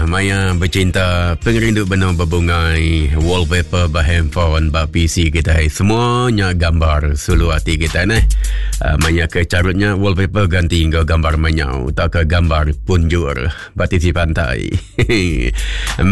ya maya bercinta pengerindu benung bebungai wallpaper ba handphone ba PC kita semuanya gambar sulu hati kita neh. Uh, maya ke carutnya wallpaper ganti enggau gambar menyau tauka gambar punjur ba tisi pantai.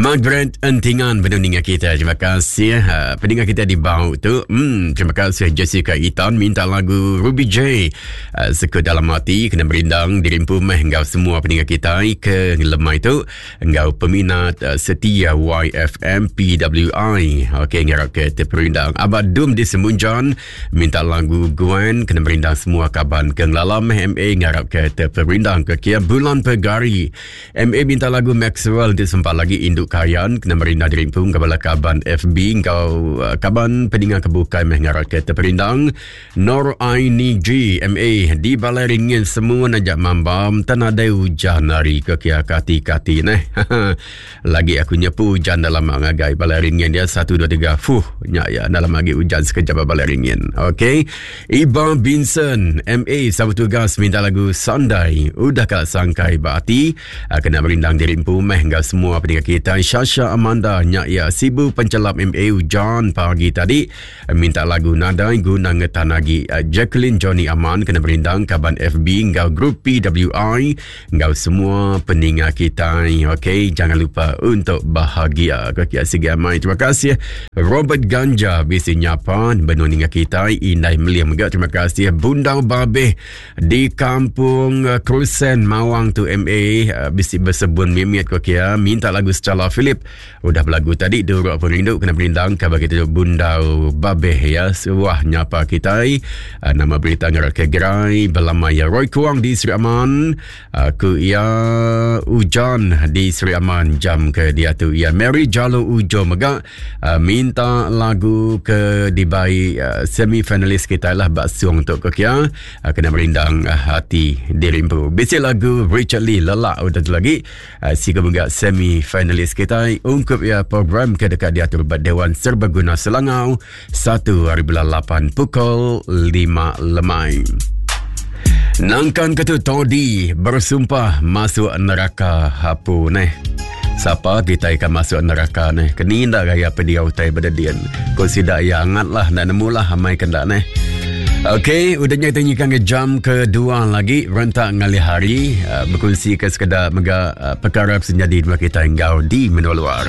Margaret Entingan benung ninga kita. Terima kasih uh, peninga kita di bau tu. Hmm, terima kasih Jessica Itan minta lagu Ruby J. Uh, sekut dalam ati kena merindang dirimpu meh enggau semua peninga kita ke lemai tu enggau peminat uh, setia YFM PWI. Okey ngarap ke terperindang. Abad Dum di Semunjan minta lagu Gwen kena merindang semua kaban ke ngelala meh MA ngarap ke terperindang ke kia bulan pegari. MA minta lagu Maxwell di sempat lagi Induk Kayan kena merindang dirimpu enggau bala kaban FB enggau uh, kaban peninga ke bukai meh ngarap ke terperindang. Nor Aini G MA di Balai Ringin semua najak mambam tan nadai ujan hari ke kia kati-kati neh. Lagi aku nyepu ujan dalam ngagai Balai Ringin dia 1 2 3 fuh nya ya dalam lagi ujan sekejap ba Balai Ringin. Okey. Iba Vincent MA sama tugas minta lagu Sandai udah ka sangkai ba ati ah, kena merindang diri empu meh enggau semua peninga kita Shasha Amanda nya ya Sibu Pencelap MA ujan pagi tadi Minta lagu nadai guna ngetan agi. Jacqueline Johnny Aman kena merindang kaban FB enggau grup PWI enggau semua peninga kitai. Okey, jangan lupa untuk bahagia. Okey, sigi amai. Terima kasih Robert Ganja bisi nyapa benung ninga kitai. Indai Meling mega terima kasih Bundau Babeh di Kampung Krusen Mawang tu MA bisi bersebun mimit ko kia minta lagu Stella Philip Udah belagu tadi duruk pengerindu kena merindang kaban kita Bundau Babeh ya suah nyapa kitai uh, nama berita ngarap ke gerai belama ya Roy Kuang di Sri Aman uh, ku iya ujan di Sri Aman jam ke diatu ya Mary Jalo Ujo mega uh, minta lagu ke dibai uh, semi finalis kita lah bak sung tu ke kia uh, kena merindang uh, hati diri empu. Bisi lagu Richard Lee lelak udah tu lagi Eh, siku mega semi finalis kita ungkup ya program ke dekat diatur ba Dewan Serbaguna Selangau 1 hari bulan 8 pukul 5 lemai. Nangkan ke tu Todi bersumpah masuk neraka hapu neh. Siapa kita akan masuk neraka neh? Keni ndak gaya pedia utai berdedian. Ko sida ya angat lah nak nemu lah amai kendak neh. Okey, udah nya kita nyikan ke jam kedua lagi rentak ngalih hari uh, berkongsi ke sekeda mega uh, perkara senyadi dua kita enggau di menua luar.